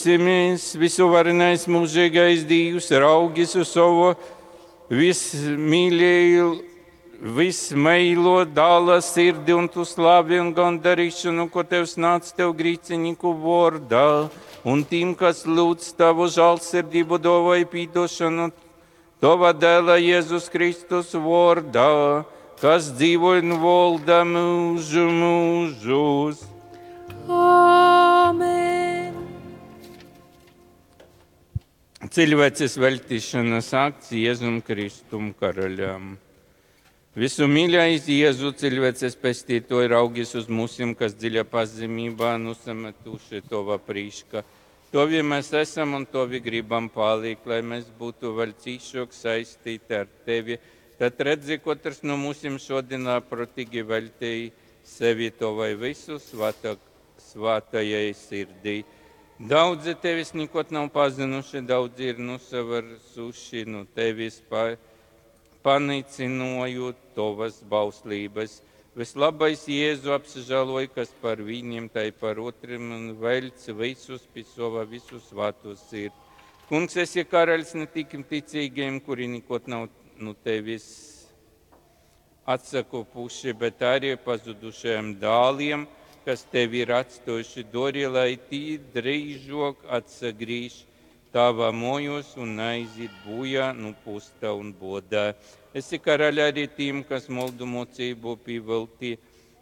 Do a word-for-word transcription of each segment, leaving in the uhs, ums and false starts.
Lyugsimies, visuvarenais mūžīgais Dīvs, raugis uz savu vismīļēju, vismeilo dāla sirdi un tu slavi un gandarīšanu, ko Tevs nāc Tev grīcinieku vārdā, un tiem, kas lūdz Tavu žālsirdību, dāvāj pīdošanu, Tava dēla Jēzus Kristus vārdā, kas dzīvo un valda mūžu mūžos. Āmen! Cilvēces veltīšanas akts Jēzum Kristum karaļam. Visu mīļais Jēzu cilvēces pestītoji raugis uz mūsim, kas dziļa pazemībā nusametuši Tova prīška. Tovi mēs esam un Tovi gribam palikt, lai mēs būtu vēl cīšāk saistīti ar Tevi. Tad redzi, katrs no mūsim šodien labprātīgi veltīja sevi Tavai visu svāta, svātajai sirdī. Daudzi tevis nekad nav pazinuši, daudzi ir nusavarsuši no tevis, pa, panīcinojot tavas bauslības. Vislabais Jēzu apsižāloj, kas par viņiem, tai par otriem, un velc visus pie sava visu svāto sirdi. Kungs, esi karaļs ne tik ticīgiem, kuri nekad nav no tevis atsakopuši, bet arī pazudušajiem dāliem, kas tevi ir atstājuši, dori, lai tī drīzāk atsagrīž tavā mojos un aiziet bojā nu pusta un bodā. Esi karaļ arī tiem, kas moldu mocību pievelti,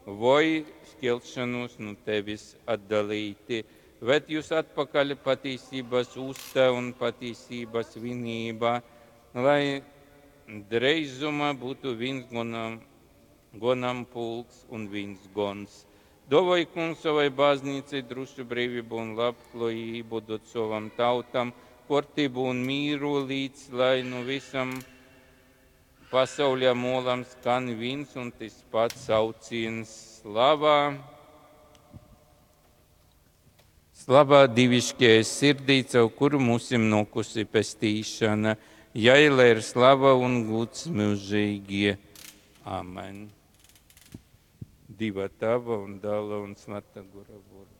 vai šķelšanos no tevis atdalīti. Ved jūs atpakaļ patīsības uztā un patīsības vienībā, lai dreizumā būtu viens gonam, gonam pulks un viens gons. Dovoj kungs savai baznīcai drošu brīvību un labklājību dod savam tautam, kārtību un mīru līdz, lai nu visam pasauļa molam skan viens un tas pats sauciens slavā. Slavā dievišķajai sirdī, caur kuru mūsim nokusi pestīšana, jai lai ir slava un gods mūžīgi. Amen. Dieva Tava un Dēla un Svētā Gora vārdā.